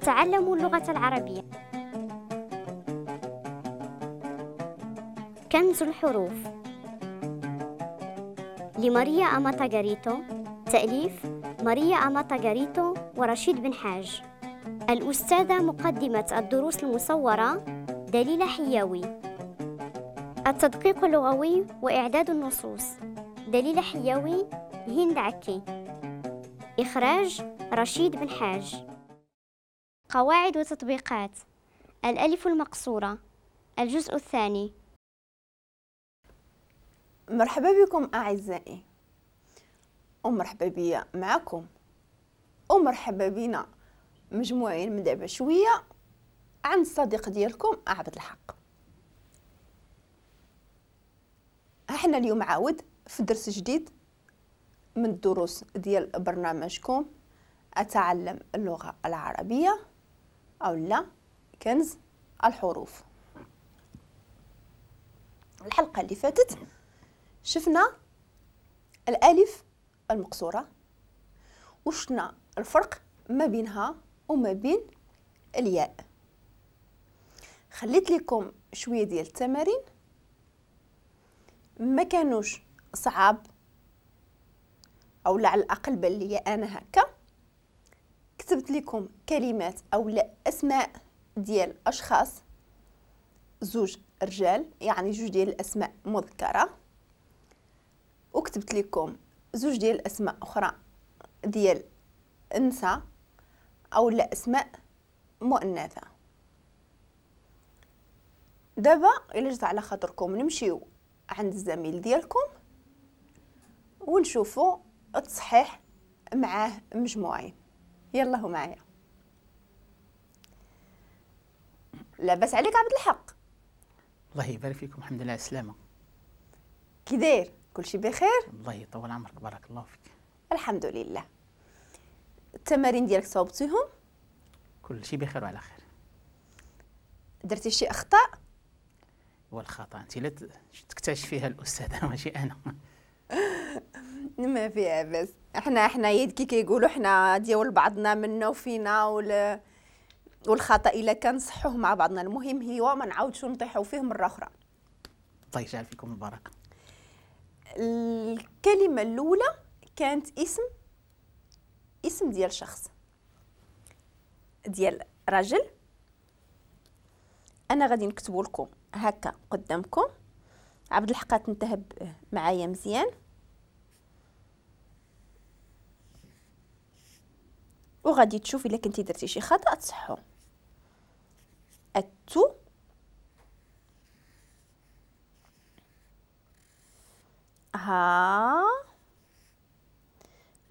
أتعلم اللغة العربية. كنز الحروف لماريا أماتا غاريتو، تأليف ماريا أماتا غاريتو ورشيد بن حاج. الأستاذة مقدمة الدروس المصورة دليلة حياوي. التدقيق اللغوي وإعداد النصوص دليلة حياوي، هند عكي. إخراج رشيد بن حاج. قواعد وتطبيقات الألف المقصورة، الجزء الثاني. مرحبا بكم أعزائي، ومرحبا بيا معكم، ومرحبا بنا مجموعين من دابا شوية عند الصديق ديالكم عبد الحق. احنا اليوم عاود في درس جديد من الدروس ديال برنامجكم أتعلم اللغة العربية أو لا كنز الحروف. الحلقة اللي فاتت شفنا الألف المقصورة وشفنا الفرق ما بينها وما بين الياء. خليت لكم شوية ديال التمارين ما كانوش صعاب، أو لا على الأقل بان ليا أنا هكا. كتبت لكم كلمات أو لا أسماء ديال أشخاص، زوج رجال يعني جوج ديال الأسماء مذكرة، وكتبت لكم زوج ديال الأسماء أخرى ديال النساء أو لا أسماء مؤنثة. دابا إلا جات على خاطركم نمشيو عند الزميل ديالكم ونشوفوا التصحيح معاه مجموعين. يلا هو معايا. لاباس عليك عبد الحق؟ الله يبارك فيكم، الحمد لله على السلامة. كي داير؟ كلشي بخير؟ الله يطول عمرك، بارك الله فيك. الحمد لله. التمارين ديالك صوبتيهم؟ كلشي بخير وعلى خير. درتي شي اخطاء؟ والخطا انت لا تكتشف فيها الاستاذة ماشي انا. ما فيها بس، احنا يد كي كيقولوا حنا ديال بعضنا منا وفينا، والخطا الا كان صحوة مع بعضنا، المهم هو ما نعاودش نطيحوا فيه مرة اخرى. الله يجعل فيكم البركة. الكلمة الاولى كانت اسم ديال شخص، ديال رجل. انا غادي نكتبو لكم هكا قدامكم. عبد الحق تنتهب معايا مزيان، وغادي تشوف الا كنتي درتي شي خطا تصحو. التو ها،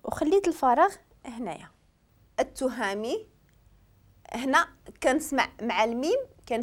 وخليت الفراغ هنايا. التهامي هنا كنسمع مع الميم